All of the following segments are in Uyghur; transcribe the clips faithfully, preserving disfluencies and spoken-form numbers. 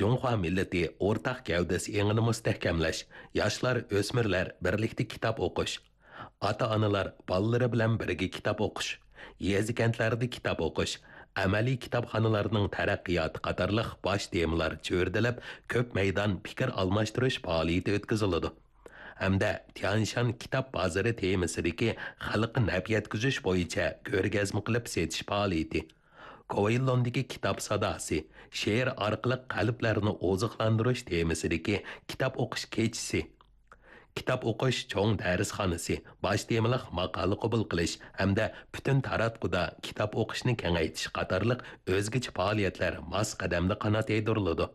جۇڭخۇا مىللىتى ئورتاق گەۋدىسى ئېڭىنى مۇستەھكەملەش، ياشلار، ئۆسمۈرلەر بىرلىكتە كىتاب ئوقۇش، ئاتا-ئانىلار بالىلىرى بىلەن بىرگە كىتاب ئوقۇش، يېزا-كەنتلەردە كىتاب ئوقۇش، ئەمەلىي كىتابخانىلارنىڭ تەرەققىياتى قاتارلىق باش تېمىلار چۆرىدىلىپ، كۆپ مەيدان پىكىر ئالماشتۇرۇش پائالىيىتى ئۆتكۈزۈلىدۇ. ھەمدە تيانشان كىتاب بازىرى تېمىسىدىكى خەلققە نەپ يەتكۈزۈش بويىچە كۆرگەزمە قىلىپ سېتىش پائالىيىتى، كوۋېيلوندىكى كىتاب ساداسى، شېئىر ئارقىلىق قەلبلەرنى ئوزۇقلاندۇرۇش تېمىسىدىكى كىتاب ئوقۇش كېچىسى، كىتاب ئوقۇش چوڭ دەرسخانىسى، باش تېمىلىق ماقالە قوبۇل قىلىش ھەمدە پۈتۈن تاراتقۇدا كىتاب ئوقۇشنى كېڭەيتىش قاتارلىق ئۆزگىچە پائالىيەتلەر ماس قەدەمدە قانات يايدۇرۇلىدۇ.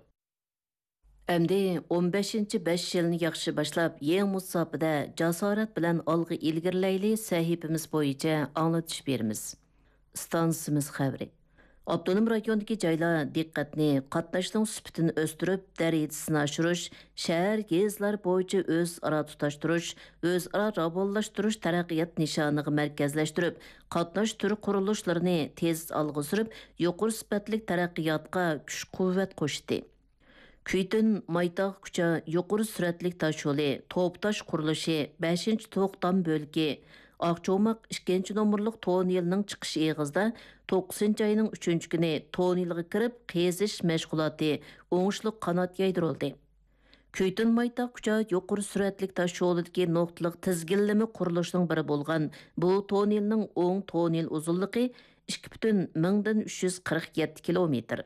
ئەمدى ئون بەشىنچى بەش يىلنى ياخشى باشلاپ، يېڭى مۇساپىدە جاسارەت بىلەن ئالغا ئىلگىرىلەيلى سەھىپىمىز بويىچە ئاڭلىتىش بېرىمىز. ئىستانسىمىز خەۋىرى. ئاپتونوم رايوندىكى جايلار دىققەتنى قاتناشنىڭ سۈپىتىنى ئۆستۈرۈپ، دەرىجىسىنى ئاشۇرۇش، شەھەر، يېزىلار بويىچە ئۆزئارا تۇتاشتۇرۇش، ئۆزئارا راۋانلاشتۇرۇش تەرەققىيات نىشانىغا مەركەزلەشتۈرۈپ، قاتناش تۈر قۇرۇلۇشلىرىنى تېز ئالغا سۈرۈپ، يۇقىرى سۈپەتلىك تەرەققىياتقا كۈچ-قۇۋۋەت قوشتى. كۈيتۈن مايتاغ كۇچا يۇقىرى سۈرئەتلىك تاشيولى، توپ تاش قۇرۇلۇشى، بەشىنچى توختام بۆلىكى، ئاقچوماق ئىككىنچى نومۇرلۇق توننېلنىڭ چىقىش ئېغىزىدا توققۇزىنچى ئاينىڭ ئۈچىنچى كۈنى توننېلغا كىرىپ قېزىش مەشغۇلاتى ئوڭۇشلۇق قانات يايدۇرۇلدى. كۈيتۈن مايتاغ كۇچا يۇقىرى سۈرئەتلىك تاشيولىدىكى نۇقتىلىق تىزگىنلىمە قۇرۇلۇشىنىڭ بىرى بولغان بۇ توننېلنىڭ ئوڭ توننېل ئۇزۇنلۇقى ئىككى پۈتۈن مىڭدىن ئۈچ يۈز قىرىق يەتتە كىلومېتىر.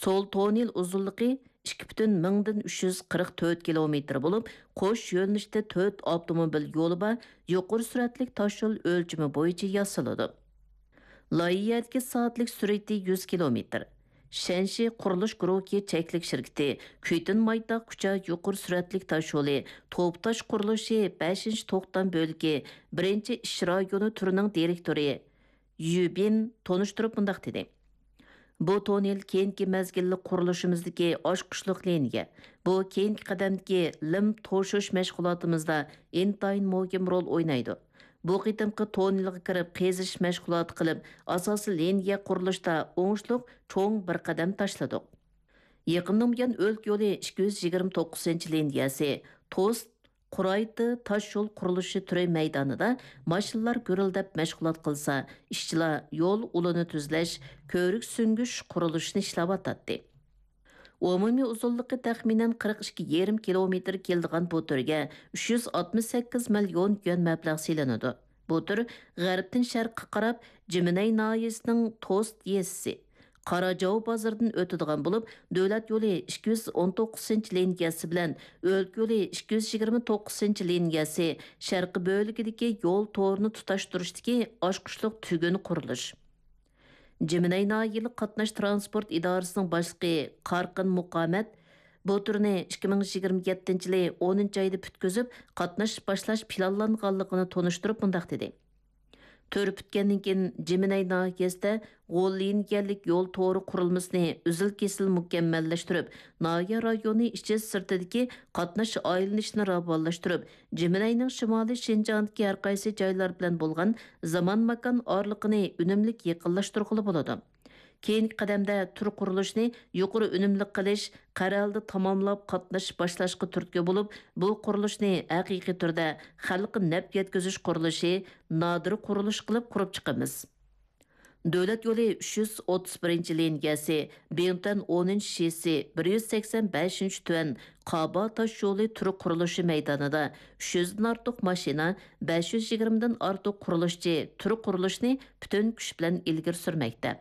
سول توننېل ئۇزۇنلۇقى ئىككى پۈتۈن مىڭدىن ئۈچ يۈز قىرىق تۆت كىلومېتىر بولۇپ، قوش يۆنىلىشتە تۆت ئاپتوموبىل يولى بار يۇقىرى سۈرئەتلىك تاشيول ئۆلچىمى بويىچە ياسىلىدۇ. لايىھەدىكى سائەتلىك سۈرئىتى يۈز كىلومېتىر. شەنشى قۇرۇلۇش گۇرۇھى چەكلىك شىركىتى كۈيتۈن مايتاغ كۇچا يۇقىرى سۈرئەتلىك تاشيولى توپ تاش قۇرۇلۇشى بەشىنچى توختام بۆلىكى بىرىنچى ئىش رايونى تۈرىنىڭ دىرېكتورى يۈ بىن تونۇشتۇرۇپ مۇنداق دېدى: بۇ توننېل كېيىنكى مەزگىللىك قۇرۇلۇشىمىزدىكى ئاچقۇچلۇق لىنىيە. بۇ كېيىنكى قەدەمدىكى لىم توشۇش مەشغۇلاتىمىزدا ئىنتايىن مۇھىم رول ئوينايدۇ. بۇ قېتىمقى توننېلغا كىرىپ قېزىش مەشغۇلاتى قىلىپ، ئاساسىي لىنىيە قۇرۇلۇشتا ئوڭۇشلۇق چوڭ بىر قەدەم تاشلىدۇق. يېقىندىن بۇيان ئۆلكە يولى ئىككى يۈز يىگىرمە توققۇزىنچى لىنىيەسى، توست، قۇرايتى تاش يول قۇرۇلۇشى تۈرى مەيدانىدا ماشىنىلار گۈرۈلدەپ مەشغۇلات قىلسا، ئىشچىلار يول ئۇلىنى تۈزلەش، كۆۋرۈك سۈڭگۈش قۇرۇلۇشىنى ئىشلەۋاتاتتى. ئومۇمىي ئۇزۇنلۇقى تەخمىنەن قىرىق ئىككى يېرىم كىلومېتىر كېلىدىغان بۇ تۈرگە ئۈچ يۈز ئاتمىش سەككىز مىليون يۈەن مەبلەغ سېلىنىدۇ. بۇ تۈر غەربتىن شەرققە قاراپ جىمىنەي ناھىيەسىنىڭ توست يېزىسى، قاراجاۋ بازىرىدىن ئۆتىدىغان بولۇپ، دۆلەت يولى ئىككى يۈز ئون توققۇزىنچى لىنىيەسى بىلەن ئۆلكە يولى ئىككى يۈز يىگىرمە توققۇزىنچى لىنىيەسى شەرقىي بۆلىكىدىكى يول تورىنى تۇتاشتۇرۇشتىكى ئاچقۇچلۇق تۈگۈن قۇرۇلۇش. جىمىنەي ناھىيەلىك قاتناش تىرانسپورت ئىدارىسىنىڭ باشلىقى قارقىن مۇقامەت بۇ تۈرنى ئىككى مىڭ يىگىرمە يەتتىنچى يىلى ئونىنچى ئايدا پۈتكۈزۈپ، قاتناش باشلاش پىلانلانغانلىقىنى تونۇشتۇرۇپ مۇنداق دېدى: تۈر پۈتكەندىن كېيىن، جىمىنەي ناھىيەسىدە غول لىنىيەلىك يول تورى قۇرۇلمىسىنى ئۈزۈل-كېسىل مۇكەممەللەشتۈرۈپ، ناھىيە رايونى ئىچى سىرتىدىكى قاتناش ئايلىنىشىنى راۋانلاشتۇرۇپ، جىمىنەينىڭ شىمالىي شىنجاڭدىكى ھەر قايسى جايلار بىلەن بولغان زامان ماكان ئارىلىقىنى ئۈنۈملۈك يېقىنلاشتۇرغىلى بولىدۇ. كېيىنكى قەدەمدە تۈر قۇرۇلۇشنى يۇقىرى ئۈنۈملۈك قىلىش، قەرەلدە تاماملاپ قاتنىشىپ باشلاشقا تۈرتكە بولۇپ، بۇ قۇرۇلۇشنى ھەقىقىي تۈردە خەلققە نەپ يەتكۈزۈش قۇرۇلۇشى، نادىر قۇرۇلۇش قىلىپ قۇرۇپ چىقىمىز. دۆلەت يولى ئۈچ يۈز ئوتتۇز بىرىنچى لىنىيەسى، بىڭتۈەن ئونىنچى شىسى، بىر يۈز سەكسەن بەشىنچى تۈەن قابا تاش يولى تۈر قۇرۇلۇشى مەيدانىدا ئۈچ يۈزدىن ئارتۇق ماشىنا، بەش يۈز يىگىرمىدىن ئارتۇق قۇرۇلۇشچى تۈر قۇرۇلۇشنى پۈتۈن كۈچ بىلەن ئىلگىرى سۈرمەكتە.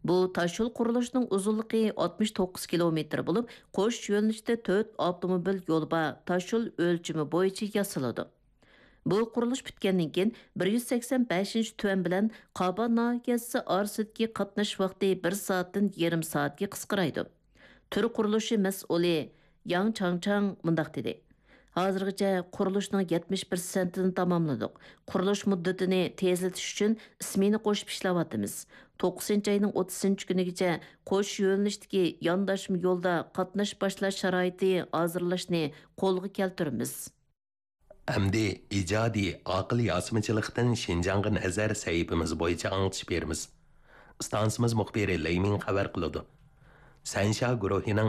بۇ تاشيول قۇرۇلۇشىنىڭ ئۇزۇنلۇقى ئاتمىش توققۇز كىلومېتىر بولۇپ، قوش يۆنىلىشتە تۆت ئاپتوموبىل يولى بار تاشيول ئۆلچىمى بويىچە ياسىلىدۇ. بۇ قۇرۇلۇش پۈتكەندىن كېيىن، بىر يۈز سەكسەن بەشىنچى تۈەن بىلەن قابا ناھىيەسى ئارىسىدىكى قاتناش ۋاقتى بىر سائەتتىن يېرىم سائەتكە قىسقىرايدۇ. تۈر قۇرۇلۇشى مەسئۇلى ياڭ چاڭچاڭ مۇنداق دېدى: ھازىرغىچە قۇرۇلۇشنىڭ يەتمىش پىرسەنتىنى تاماملىدۇق. قۇرۇلۇش مۇددىتىنى تېزلىتىش ئۈچۈن سمېنا قوشۇپ ئىشلەۋاتىمىز. توققۇزىنچى ئاينىڭ ئوتتۇزىنچى كۈنىگىچە قوش يۆنىلىشتىكى يانداشما يولدا قاتناش باشلاش شارائىتى ھازىرلاشنى قولغا كەلتۈرىمىز. ئەمدى ئىجادىي ئاقىل ياسىمىچىلىقتىن شىنجاڭغا نەزەر سەھىپىمىز بويىچە ئاڭلىتىش بېرىمىز. ئىستانسىمىز مۇخبىرى لېي مىڭ خەۋەر قىلىدۇ. سەنشيا گۇرۇھىنىڭ